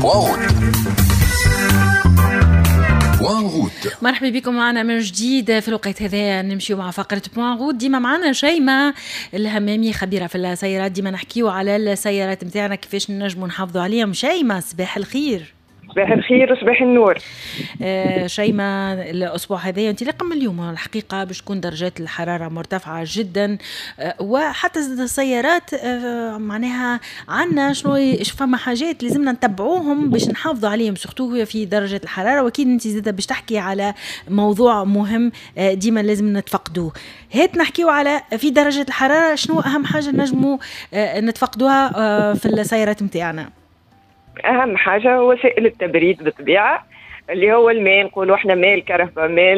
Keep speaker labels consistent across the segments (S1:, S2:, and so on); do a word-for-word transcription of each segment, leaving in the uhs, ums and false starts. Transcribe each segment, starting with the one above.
S1: Point route. Point route.
S2: مرحبا بكم معنا من جديد في الوقت هذا، نمشيو مع فقرة point route. ديما معنا شيماء الهمامي، خبيرة في السيارات. ديما نحكيو على السيارات نتاعنا، كيفاش نجمو نحافظوا عليهم. شيماء، صباح الخير.
S3: صباح الخير وصباح النور.
S2: آه شيماء، الاسبوع هذا، انطلاقا من اليوم الحقيقه، باش تكون درجات الحرارة مرتفعة جدا، آه وحتى السيارات آه معناها عندنا شنو فما حاجات لازمنا نتبعوهم باش نحافظوا عليهم، surtout في درجه الحراره. واكيد انت زاده باش تحكي على موضوع مهم آه ديما لازم نتفقدوه. هات نحكيو على في درجه الحراره، شنو اهم حاجة نجموا آه نتفقدوها آه في السيارات نتاعنا؟
S3: اهم حاجة هو سائل التبريد بالطبيعه، اللي هو الماء، نقولوا احنا ماء الكرهبة، ماء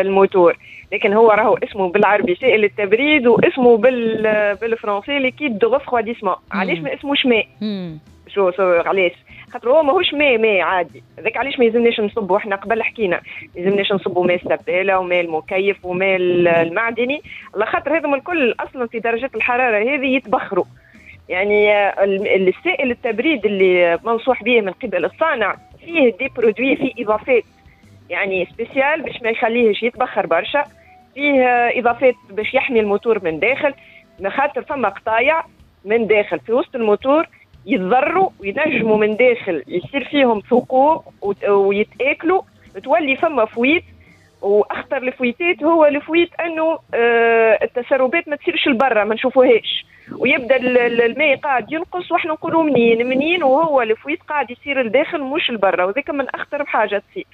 S3: الموتور، لكن هو راهو اسمه بالعربي سائل التبريد واسمه بال بالفرنسي liquide de refroidissement. علاش ما اسموش ماء؟ شو شو علاش؟ خاطر هو ماهوش ماء ماء عادي. هذاك علاش ما يلزمناش نصبوا، احنا قبل حكينا، ما يلزمناش نصبوا ماء السباله وماء المكيف وماء المعدني، على خاطر هذم الكل اصلا في درجات الحرارة هذه يتبخروا. يعني السائل التبريد اللي منصوح به من قبل الصانع فيه des produits، فيه اضافات يعني spéciales باش ما يخليهش يتبخر برشا، فيه اضافات باش يحمي الموتور من داخل، خاطر فما قطايع من داخل في وسط الموتور يتضروا وينجموا من داخل يصير فيهم ثقوب ويتاكلوا، تولي فما fuite. واخطر ال fuite ات هو ال fuite انه آه التسربات ما تصيرش لبرا، ما نشوفوهاش، ويبدا الماء قاعد ينقص واحنا نقولوا منين منين، وهو ال fuite قاعد يصير لداخل مش لبرا، وذاك من اخطر حاجة تصير.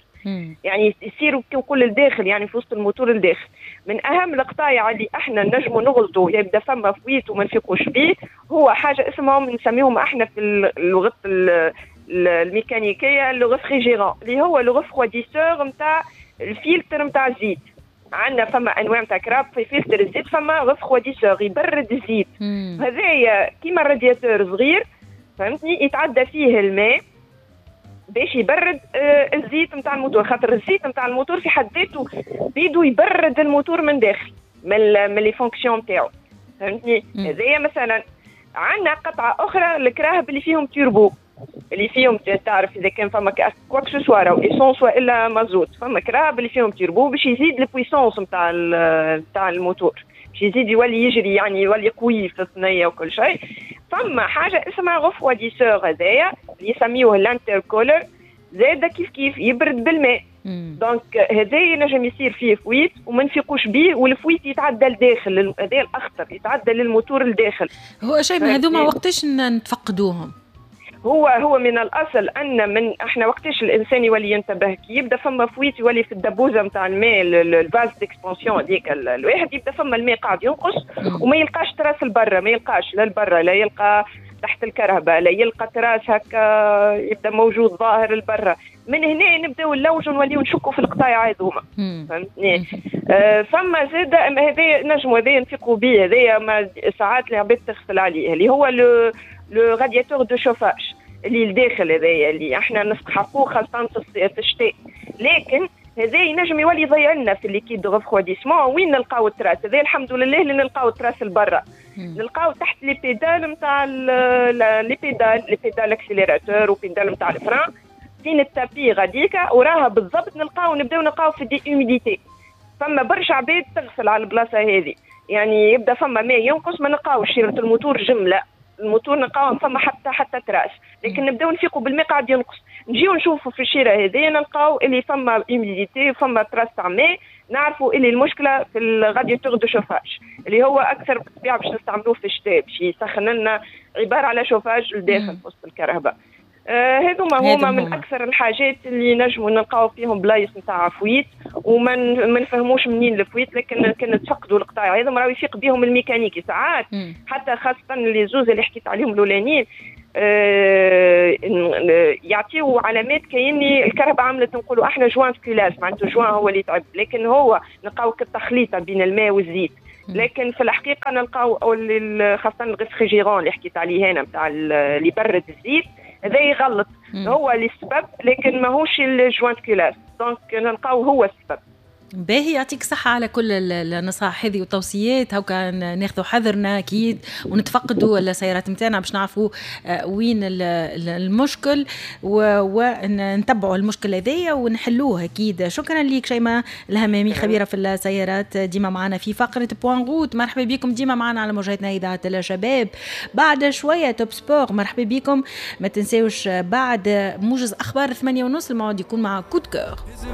S3: يعني يصير كي نقول لداخل يعني في وسط الموتور لداخل. من اهم القطايع اللي احنا نجموا نغلطوا يبدا فما fuite وما نفيقوش بيه، هو حاجة اسمهم نسميهم احنا في اللغة الميكانيكية le réfrigérant، اللي هو le refroidisseur نتاع الفلتر نتاع الزيت. عندنا فما انواع نتاع كراهب في فلتر الزيت فما refroidisseur يبرد الزيت. هذايا كيما الرادياتور صغير، فهمتني، يتعدى فيه الماء باش يبرد آه الزيت نتاع الموتور، خاطر الزيت نتاع الموتور في حد ذاته بيدو يبرد الموتور من داخل من من les fonctions نتاعو، فهمتني. هذايا مثلا. عندنا قطعه اخرى، الكراهب اللي فيهم تيربو، اللي فيهم تعرف اذا كان فما quoi que ce soit راهو essence والا مازوت، فما كراهب اللي فيهم تيربو باش يزيد ال puissance نتاع نتاع الموتور، باش يزيد يولي يجري، يعني يولي قوي في الثنية وكل شيء. فما حاجة اسمها refroidisseur، هذايا اللي يسميوه l'intercooler، زاد كيف كيف يبرد بالماء. donc هذا ينجم يصير فيه fuite وما نفيقوش بيه، وال fuite يتعدى لداخل، هذا الاخطر، يتعدى للموتور لداخل.
S2: هو شيء من هذوما وقتاش نتفقدوهم؟
S3: هو هو من الاصل ان من احنا وقتاش الانسان يولي ينتبه؟ كي يبدا فما fuite يولي في الدبوزه نتاع الماء، ال vase d'expansion هذيك، الواحد يبدا فما الماء قاعد ينقص وما يلقاش trace لبرا، ما يلقاش لا لبرا، لا يلقى تحت الكرهبة، لا يلقى trace هكا يبدا موجود ظاهر لبرا. من هنا نبداو نلوجوا، نوليو نشكوا في القطايع هذوما، فهمتني. آه فما زاد هذا نجموا هذا نفيقوا به، هذايا ساعات العباد تغفل عليه، اللي هو le le radiateur de chauffage اللي الداخل، هذايا اللي احنا نستحقوه خاصة في الشتاء، لكن هذا ينجم يولي يضيع لنا في ال liquide de refroidissement. وين نلقاو ال trace هذا؟ الحمد لله اللي نلقاو ال trace لبرا، نلقاو تحت les pédales نتاع les pédales les pédales accélérateur و pédale نتاع ال frein، فين ال tapis غاديكا وراها بالضبط نلقاو، نبداو نلقاو في des humidités. فما برشا عباد تغفل على البلاصة هذه، يعني يبدا فما ماء ينقص ما نلقاوش شيرة الموتور جمله، الموتور نلقاو فما حتى حتى trace، لكن نبداو نفيقوا بالماء قاعد ينقص، نجيو نشوفوا في الشيره هذه نلقاو اللي فما humidité، فما trace تاع ماء، نعرفوا اللي المشكلة في ال radiateur de chauffage اللي هو اكثر بالطبيعة باش نستعملوه في الشتاء باش يسخن لنا، عبارة على شوفاج لداخل في وسط الكرهبة. آه هذوما هما من اكثر الحاجات اللي نجموا نلقاو فيهم بلايص نتاع fuite وما ما نفهموش منين ال fuite، لكن كان نتفقدوا القطاع هذوما راهو يفيق بهم الميكانيكي ساعات. مم. حتى خاصة les زوز اللي حكيت عليهم الاولانيين آه يعطيو علامات كايني الكرهبة عملت نقولوا احنا joint culasse، معناته joint هو اللي تعب، لكن هو نلقاو كالتخليطه بين الماء والزيت. لكن في الحقيقة نلقاو خاصة ال réfrigérant اللي حكيت عليه هنا نتاع اللي يبرد الزيت، هذا يغلط. هو اللي السبب، لكن ماهوش ال joint culasse، donc نلقاو هو السبب.
S2: باهي، يعطيك صحة على كل النصائح هذه والتوصيات. هكا ناخذوا حذرنا اكيد ونتفقدوا السيارات نتاعنا باش نعرفوا آه، وين المشكل ونتبعوا المشكل هذايا ونحلوه اكيد. شكرا لك شيماء الهمامي، خبيرة في السيارات، ديما معنا في فقرة point route. مرحبا بكم ديما معنا على موجاتنا اذاعة الشباب. بعد شوية Top Sport، مرحبا بكم. ما تنساوش بعد موجز اخبار ثمانية ونص الموعد يكون مع coup de cœur.